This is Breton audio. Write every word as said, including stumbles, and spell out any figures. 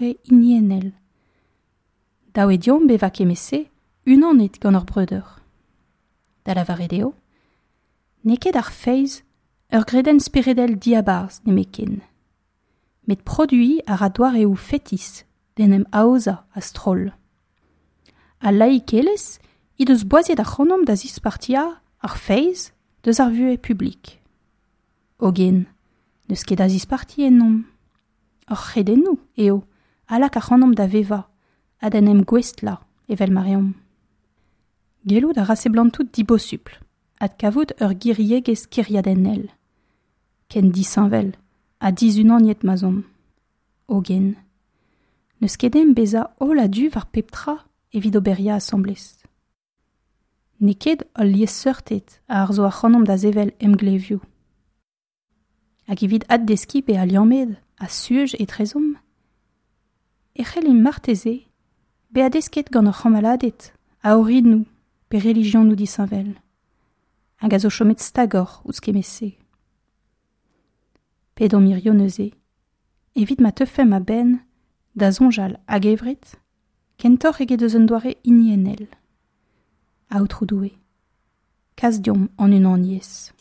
hiniennel. Dav eo deomp bevañ kement-se unanet gant hor breudeur. Da lavaret eo, n'eo ket ar feiz ur gredenn speredel diabarzh nemetken. Met produiñ a ra doareoù fetis d'en em aozañ a-stroll. Al laikelezh he deus boaziet ac'hanomp da zispartiañ ar feiz deus ar vuhez publik. Hogen, n'eus ket a zisparti ennomp. Hor c'hredennoù eo a lak ac'hanomp da vevañ ha d'en em gouestlañ evel ma reomp. Gellout a ra seblantout dibosupl adkavout ur giriegezh kêriadennel, ken disheñvel ha dizunaniet ma'z omp. Hogen, n'eus ket ezhomm bezañ holl a-du war pep tra evit oberiañ asambles. N'eo ket hol liesseurted a harzo ac'hanomp da sevel emglevioù. Hag evit addeskiñ bezañ liammet ha suj etrezomp, e c'hellimp marteze bezañ desket gant hor c'hamaladed a orinoù pe relijionoù disheñvel, hag a zo chomet stagoc'h ouzh kement-se. Pedomp hiziv neuze, evit ma teufemp a-benn da soñjal a-gevret, kentoc'h eget eus un doare hiniennel. Aotrou Doue, kas deomp an unaniezh.